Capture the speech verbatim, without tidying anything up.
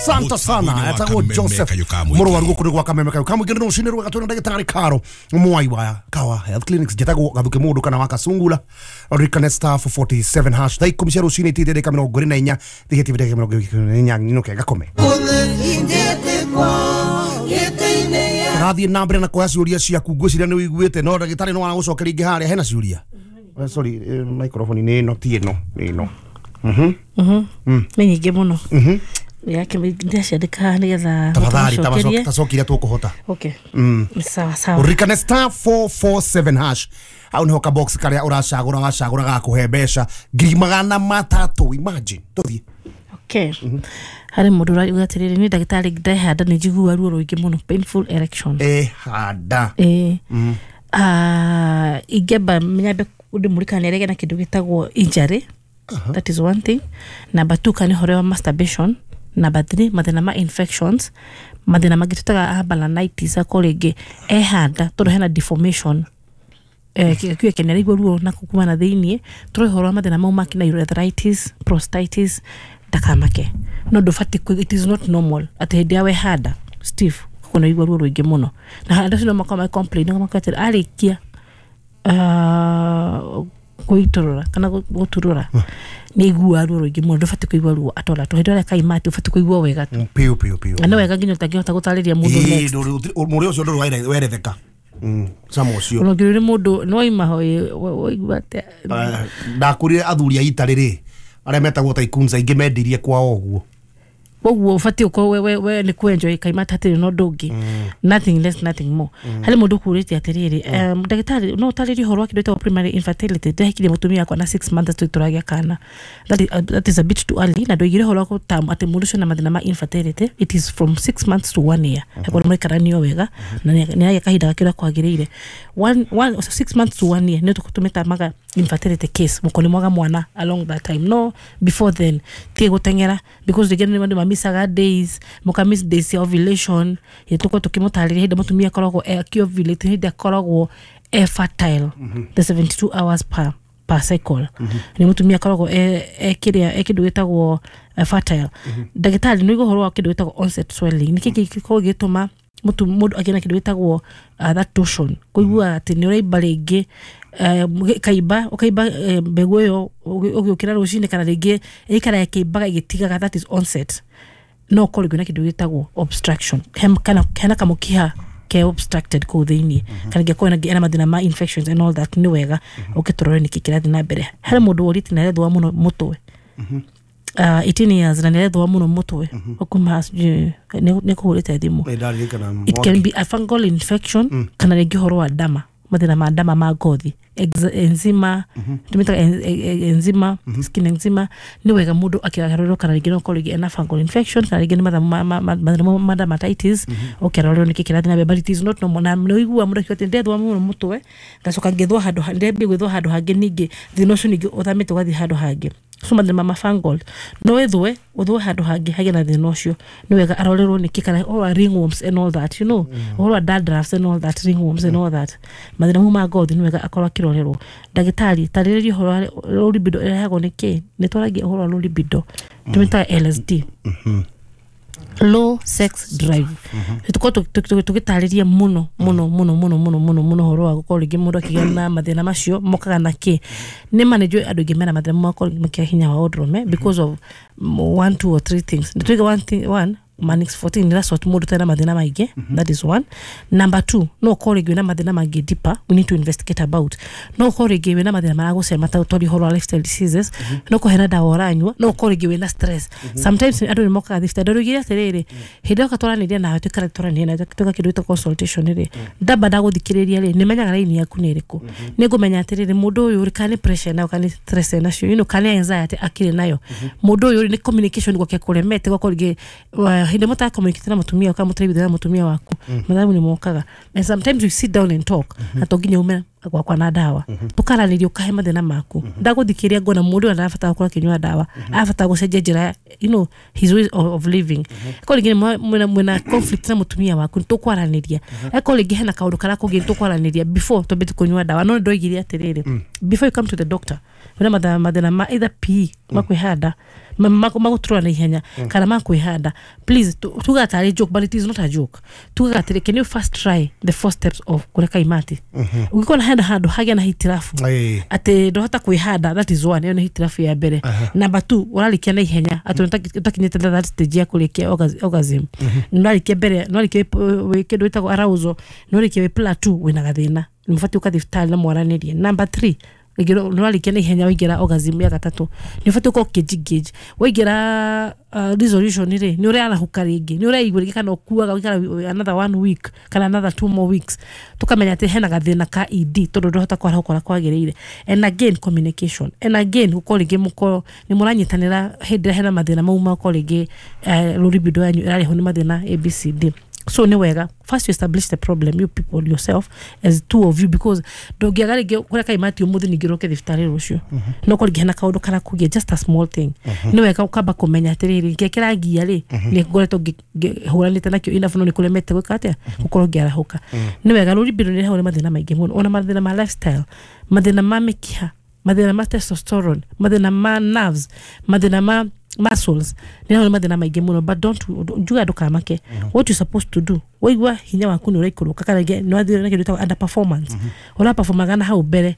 Asante sana. Etagwo Joseph Mũrwaru gũkũ nĩ gwa Kameme Kayo Kamũingĩ nĩ rũcinĩ rwega twĩna ndagĩtarĩ Karo Mwai wa Kawa Health Clinics. Njĩtagwo Gathuke Mũndũ kana wa Kasungula. Ririkane star four forty-seven hash. Thaa ikũmi cia rũcinĩ itithia ndagĩka mĩrongo ĩrĩ na inya thihĩtie ndagĩka mĩrongo ĩrĩ na inya nyinũke ngakome. Rathiĩ na mbere na kuoya ciũria ciaku, ngwĩciria nĩ ũiguĩte no ndagĩtarĩ no aragũcokeria ingĩ harĩa hena ciũria. Sorry, microphone nĩ ĩno ti ĩno nĩ ĩno. Mhm. Mhm. Nĩ nyingĩ mũno. Mhm. Yake ndaciandĩka nĩgetha tafadhali tacokia tũkũhota. Okay. Mm. Sawa sawa. Ririkane star four four seven hash. Hau nĩho ka box karĩa ũracagũra wacagũra gakũhe mbeca ngiri magana matatũ. Imagine. Tũthiĩ. Okay. Harĩ mũndũ ũrauga atĩrĩrĩ, nĩ ndagĩtarĩ ndehanda nĩ njiguaga ruo rũingĩ mũno, painful erection. Ehanda. Eh. Ah, ingĩamba nyambe ndĩmũririkanie nĩ arĩgĩa na kĩndũ gĩtagwo injury. That is one thing. Number two, kana ũhoro wa masturbation. Number three, mathĩna ma infections. Mathĩna mangĩ tũtaga balanitis akorwo rĩngĩ ehanda tondũ hena deformation. Eh, kĩga kĩu nĩ ruo na kuma na thĩiniĩ. Tũrĩ ũhoro wa mathĩna mau ma kina urethritis, prostatitis, ndakamake. No ndũbatiĩ, it is not normal atĩ hĩndĩ ya wehanda Steve ũkorwo nĩ ũraigua ruo rũingĩ mũno. Na andũ acio no makorwo ma complain makorwo atĩ arĩkia kwĩitũrũra kana gũturũra nĩ aiguaga ruo rũingĩ mũno. Ndũbatiĩ kũigua ruo at all at all. Hĩndĩ ĩrĩa kaima atĩ ũbatiĩ kũigua wega tu. Piũ piũ piũ. Na nĩ wega nginya ũtangĩhota gũtarĩria mũndũ next. Mũrĩ ũcio ndũrĩ weretheka. Cama ũcio. Ona ũngĩrĩ mũndũ no waima ho waigua atĩa? Ndakũrire athuri a itarĩ rĩ arĩa metagwo tycoons aingĩ mendirie kwao ũguo. Koguo ũbatiĩ ũkorwo we we nĩ kwenjoy kaima hatirĩ na ũndũ ũngĩ. Nothing less nothing more. Harĩ mũndũ ũkũrĩtie atĩrĩrĩ, ndagĩtarĩ no ũtarĩrie ũhoro wa kĩndũ gĩtagwo primary infertility. Ndĩrahikirie mũtumia wakwa na six months tũrĩ tũragĩa kana. That is, uh, that is a bit too early. Na ndoigire ũhoro wa gũtam atĩ mũndũ ũcio na mathĩna ma infertility, it is from six months to one year. Akorwo mũikaranio wega na nĩ agĩa kahinda gake ũrĩa kwagĩrĩire. One, one, six months to one year nĩ tũmĩtamaga infertility case. Mũkorwo nĩ mwaga mwana along that time. No before then tie gũteng'era because rĩngĩ nĩ andũ mamisaga days, mũka miss days ya ovulation. Tũkorwo tũkĩmũtarĩria hĩndĩ mũtumia akoragwo akĩovulate, hĩndĩ akoragwo e fertile the seventy-two hours per per cycle. Nĩ mũtumia akoragwo e kĩrĩa e kĩndũ gĩtagwo fertile. Ndagĩtarĩ nĩ ũhoro wa kĩndũ gĩtagwo onset swelling. Nĩ kĩĩ gĩkoragwo gĩgĩtũma mũndũ agĩe na kĩndũ gĩtagwo that torsion, kũigua atĩ nĩ ũraimba rĩngĩ kaimba ũkaimba mbegũ ĩyo ũgĩũkĩra rũcinĩ kana rĩngĩ ĩikara ĩkĩimbaga ĩgĩtigaga, that is onset. No ũkorwo rĩngĩ na kĩndũ gĩtagwo obstruction, kana hena kamũkiha ke obstructed kũu thĩiniĩ, kana ngĩkorwo ena mathĩna ma infections and all that. Nĩ wega ũkĩtũrore nĩkĩ kĩrathiĩ na mbere. Harĩ mũndũ ũrĩte na arethũa mũno mũtwe, Uh, eighteen years na nĩarethũa mũno mũtwe ũkuma nĩ kũhũrĩte thimũ. It can be a fungal infection kana rĩngĩ ũhoro wa ndama, mathĩna ma ndama ma ngothi, eczema, tũmĩtaga eczema, skin eczema. Nĩ wega mũndũ akĩarorwo kana rĩngĩ no ũkorwo rĩngĩ ena fungal infection kana rĩngĩ nĩ mathĩna ma dermatitis, ũkĩarorwo nĩkĩ kĩrathiĩ na mbere, but it is not normal. Na nĩ ũiguaga mũndũ akiuga atĩ ndethũa mũno mũtwe ngacoka ngĩthũa handũ, ndambia gwĩthũa handũ hangĩ, ningĩ thĩna ũcio ningĩ ũthamĩte ũgathiĩ handũ hangĩ. So mathĩna ma fungal no wĩthũe ũthũe handũ hangĩ hagĩe na thĩna ũcio. Nĩ wega arorerwo nĩkĩ, kana ũhoro wa ringworms and all that, you know, ũhoro wa dandruffs and all that, ringworms and all that, mathĩna mau ma ngothi nĩ wega akorwo akĩrorerwo. Ndagĩtarĩ tarĩrĩria ũhoro wa low libido ĩrehagwo nĩ kĩ? Nĩ twaragia ũhoro wa low libido, tũmĩtaga L S D, low sex drive. Tũkorwo tũgĩtarĩria mũno mũno mũno mũno mũno mũno mũno ũhoro wa gũkorwo rĩngĩ mũndũ akĩgĩa na mathĩna macio mokaga na kĩ. Nĩ ma nĩ njũĩ andũ aingĩ mena mathĩna makorwo makĩaga hinya wa ũndũrũme because of one, two or three things. Nĩ tuige one thing, one Manix fourteen that's what mũndũ tena mathĩna maingĩ, that is one. Number two, no ũkorwo rĩngĩ wĩna mathĩna mangĩ deeper we need to investigate about. No ũkorwo rĩngĩ wĩna mathĩna maragũcema ta ũtori ũhoro wa lifestyle diseases, no ũkorwo hena ndawa ũranyua, no ũkorwo rĩngĩ wĩna stress. Sometimes andũ nĩ mokaga thibitarĩ ndũrugire atĩrĩrĩ, hĩndĩ ĩyo twaranĩria nawe tũikara twaranĩria nawe twĩka kĩndũ gĩtagwo consultation rĩ, ndamba ndagũthikĩrĩria rĩ, nĩmenyaga raini yaku nĩ ĩrĩkũ. Nĩngũmenya atĩrĩrĩ, mũndũ ũyũ rĩ, kana nĩ pressure nayo kana nĩ stress nacio, you know, kana nĩ anxiety akĩrĩ nayo. Mũndũ ũyũ rĩ, nĩ communication gwake kũremete, gwakorwo rĩngĩ hĩndĩ mũta communicate na mũtumia kana mũtaraiguithania na mũtumia waku, mathabu nĩ mokaga. And sometimes we sit down and talk, na to nginya ume gwakwa na ndawa, tũkaranĩria ũkahe mathĩna maku. Ndagũthikĩrĩria ngona mũndũ ũyũ arabatara gũkorwo akĩnyua ndawa, arabatara gũcenjia njĩra, you know, his way of living. Akorwo rĩngĩ mwĩna mwĩna conflict na mũtumia waku, nĩtũkwaranĩria. Akorwo rĩngĩ hena kaũndũ karakũgia, nĩtũkwaranĩria before twambĩtie kũnyua ndawa. No nĩndoigire atĩrĩrĩ, before you come to the doctor, wĩna mathĩna ma either P E ma kwĩhanda, Magũtũra na ihenya kana makwĩhanda, please, tu- tugaga tarĩ joke, but it is not a joke. Tugaga atĩrĩ, can you first try the four steps of kũreka imati? Ũngĩkorwo hena handũ hagĩa na hitirabu Ĩĩ. atĩ ndũhota kwĩhanda, that is one. Ĩyo nĩ hitirabu ya mbere. Number two, ũrarĩkia na ihenya, atĩ ũtakinyĩte that stage ya kũrĩkia orgas- orgasm, nĩũrarĩkia mbere, nĩũrarĩkia wĩ kĩndũ gĩtagwo arousal, nĩũrĩkia wĩ plateau, wĩna gathĩna, nĩ ũbatiĩ ũka thibitarĩ na mwaranĩrie. Number three, rĩngĩ nĩwarĩkia na ihenya, waingĩra orgasm ya gatatũ, nĩ ũbatiĩ ũkorwo ũkĩengage waingĩra uh, resolution rĩ, nĩ ũrarahũka rĩngĩ, nĩ ũraigua rĩngĩ, kana ũkuaga ũgaikara another one week kana another two more weeks, tũkamenya atĩ hena gathĩna ka E D, tondũ ndũhota kwarahũka ũrĩa kwagĩrĩire. And again, communication, and again, gũkorwo rĩngĩ mũkorwo nĩ mũranyitanĩra hĩndĩ ĩrĩa hena mathĩna mau, makorwo rĩngĩ eh, libido yanyu ĩrarehwo nĩ mathĩna A B C D. So nĩ wega first you establish the problem, you people, yourself, as two of you, because ndũngĩaga rĩngĩ kũrĩa kaimati ũmũthĩ, ningĩ ũroke thibitarĩ rũciũ, no korwo rĩngĩ hena kaũndũ karakũgia, just a small thing. Nĩ wega ũkamba kũmenya atĩrĩrĩ, kĩrĩa kĩrangia rĩ, nĩ ngoretwo ngĩhũranĩte nakĩo enough, no nĩ kũremete gwĩka atĩa, gũkorwo ngĩarahũka. Nĩ wega, libido nĩ ĩrehagwo nĩ mathĩna maingĩ mũno, ona mathĩna ma lifestyle, mathĩna ma mĩkiha, mathĩna ma testosterone, mathĩna ma nerves, mathĩna ma muscles, nĩ nĩ mathĩna maingĩ mũno. But don't, njuga ndũkamake. What you supposed to do, waigua hinya waku nĩ ũraikũrũka, kana rĩngĩ nĩ wathire na kĩndũ gĩtagwo under performance, ũraperformaga na hau mbere.